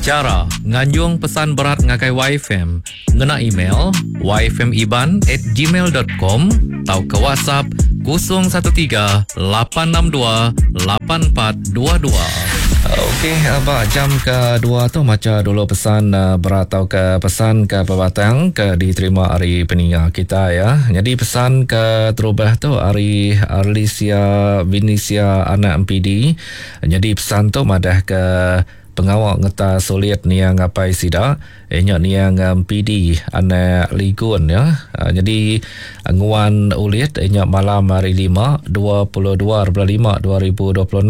Chara nganjung pesan berat ngagai YFM ngena email yfmiban at gmail dot com tauka WhatsApp 013 862 8422. Okey, ba jam ke dua tu macha dulu pesan berat tauka pesan ke pebatang ke diterima ari peninga kita ya. Nyadi pesan ke terubah tu ari Arlisia Vinisia anak MPD. Nyadi pesan tu madah ke pengawa ngeta sulit niang apai sida iya nya niang MPD anak Ligun ya. Nyadi nguan ulit iya nya malam hari lima 22 bulan lima 2026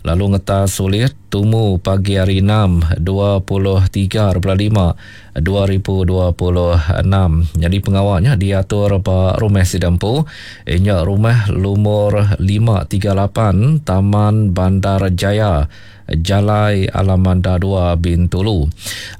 lalu ngeta sulit tumu pagi hari enam 23 bulan lima 2026. Nyadi pengawa nya diatur ba rumah sida empu iya nya rumah lumur 538 Taman Bandar Jaya, Jalai Alamanda 2 Bintulu.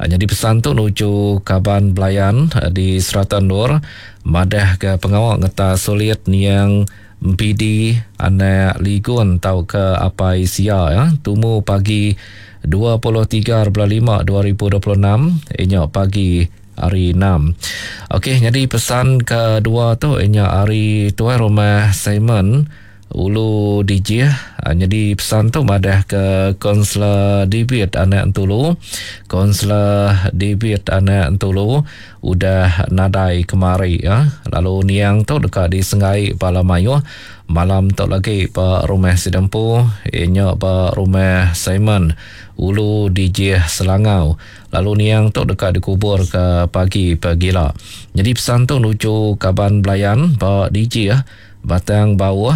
Nyadi pesan tu nuju kaban belayan di serata endur madahka pengawa ngeta sulit niang MPD anak Ligun tauka Apai Sia ya tumu pagi 23 bulan 5 2026 inya pagi hari 6. Okey nyadi pesan kedua tu inya ari tuai rumah Simon Ulu Dijih. Nyadi pesan tu madah ke Konselor David anak Entulu. Konselor David anak Entulu udah nadai kemari ya. Lalu niang tu deka disenggai bala mayuh malam tu lagi ba rumah sida empu iya nya ba rumah Simon Ulu Dijih Selangau. Lalu niang tu deka dikubur ke pagi pegila. Nyadi pesan tu nuju kaban belayan ba Dijih Batang Bauh,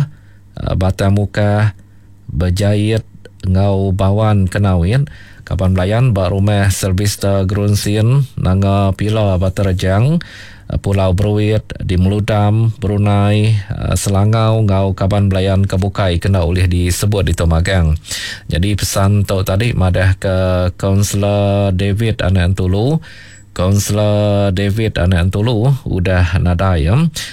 Batang Mukah, Bejait enggau Bawan Kenawit, kaban belayan ba Rumah Sylvester Gerunsin, Nanga Pila Batu Rejang, Pulau Beruit, di Meludam, Brunei, Selangau enggau kaban belayan ke bukai ke enda ulih disebut ditu magang. Nyadi pesan tu tadi madahka Kaunselor David Anak Entulu, Kaunselor David anak Entulu udah nadai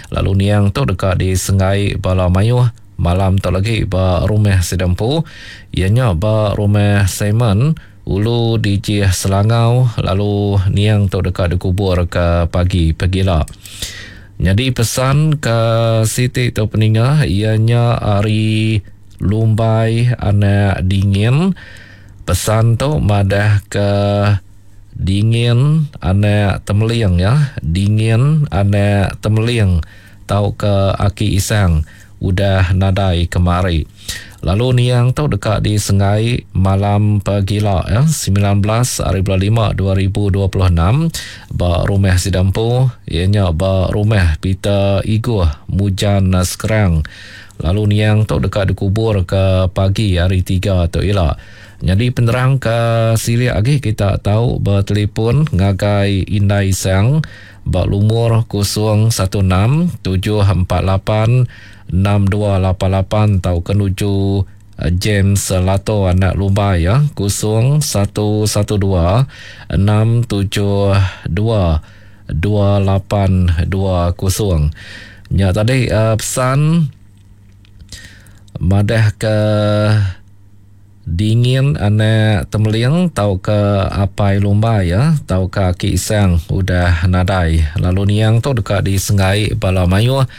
lalu niang tu deka disenggai bala mayuh malam tu lagi ba rumah sida empu iya nya ba rumah Simon Ulu Dijih Selangau lalu niang tu deka dikubur ke pagi pegila. Nyadi pesan ke siti tu peninga iya nya ari Lumbai anak Dingin. Pesan tu madah ke Dingin anak Temeling ya, dingin anak Temeling tauka Aki Isang udah nadai kemari. Lalu niang tu deka disenggai malam pegila ya, 19 hari bulan 5 2026 ba rumah sida empu iya nya ba rumah Peter Iguh Mujan Skrang. Lalu niang tu deka dikubur ke pagi hari 3 tu ila. Nyadi penerang ke silik agi kita tau betelipon ngagai Indai Isang ba lumur 016 748 6288 tauka nuju James Lato anak Lumbai ya 0112 672 2820. Nya tadi pesan madah ke Dingin anak Temeling tauka Apai Lumbai iya tauka Aki Isang udah nadai lalu niang tu deka disenggai bala mayuh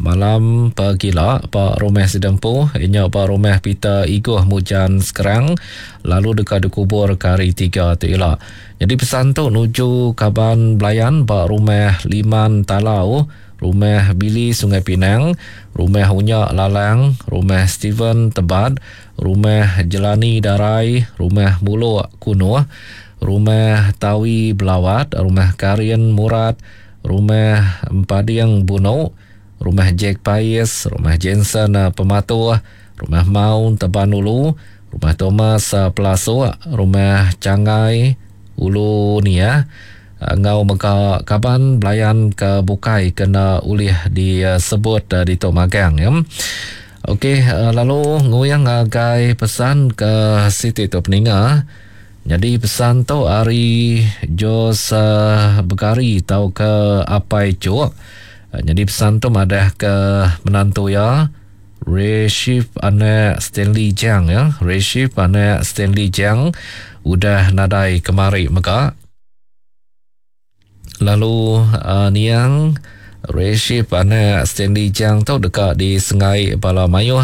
malam pegila ba rumah sida empu iya nya ba rumah Peter Igoh Mujan Skrang lalu deka dikubur ke hari tiga tu ila. Nyadi pesan tu nuju kaban belayan ba rumah Liman Talau Rumah Billy Sungai Pinang, Rumah Unyak Lalang, Rumah Stephen Tebat, Rumah Jelani Darai, Rumah Mulok Kunoh, Rumah Tawi Belawat, Rumah Karin Murat, Rumah Empading Bunok, Rumah Jack Pais, Rumah Jensen Pematuh, Rumah Maun Teban Ulu, Rumah Thomas Pelasuk, Rumah Changai Ulu Niah, enggau mega kaban belayan ke bukai ke enda ulih disebut ditu magang ya. Okey lalu nguyang ngagai pesan ke siti tu peninga. Nyadi pesan tu ari Jos Begari tauka Apai Chuk. Nyadi pesan tu madah ke menantu iya. Reship anak Stanley Jang ya. Reship anak Stanley Jang udah nadai kemari mega. Lalu uh, niang Reship anak Stanley Jang tu deka disengai bala mayuh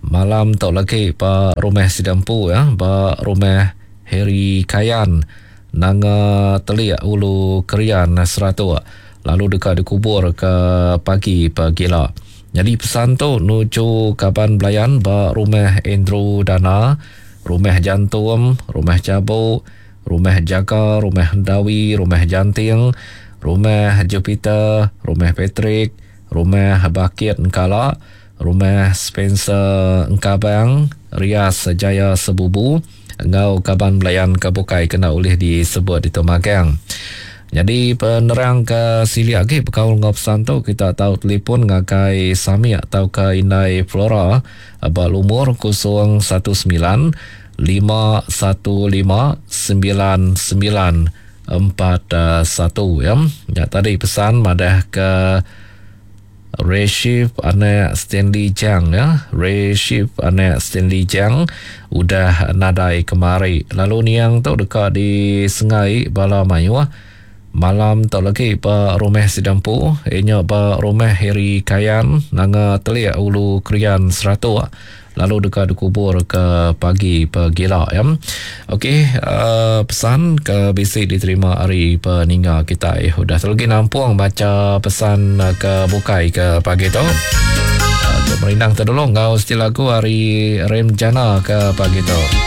malam tu lagi ba rumah sida empu ya, ba rumah Harry Kayan Nanga Telik Ulu Krian Seratok lalu deka dikubur ke pagi pagila. Nyadi pesan tu nuju kaban belayan ba Rumah Andrew Dana, Rumah Jantum, Rumah Chabuk, Rumah Jaga, Rumah Endawi, Rumah Janting, Rumah Jupiter, Rumah Patrick, Rumah Bakit Engkala, Rumah Spencer Engkabang, Rias Jaya Sebubu enggau kaban belayan ke bukai kena ulih disebut ditu magang. Nyadi penerang ke silik agi bekaul enggau pesan tu kita tau telefon ngagai Samik tauka Indai Flora ba lumur 019 515 9941 ya. Nya tadi pesan madah ke Reship anak Stanley Jang ya. Reship anak Stanley Jang udah nadai kemari. Lalu niang tu deka disengai bala mayuh malam tu lagi ba rumah sida empu iya nya ba rumah Harry Kayan Nanga Telik Ulu Krian Seratok lalu deka dikubur ke pagi pegila ya. Okey uh, pesan ke bisi diterima ari peninga kitai udah tu lagi nampung baca pesan uh, ke bukai ke pagi tu. Uh, merindang terdulu enggau siti lagu ari Rem Jana ke pagi tu.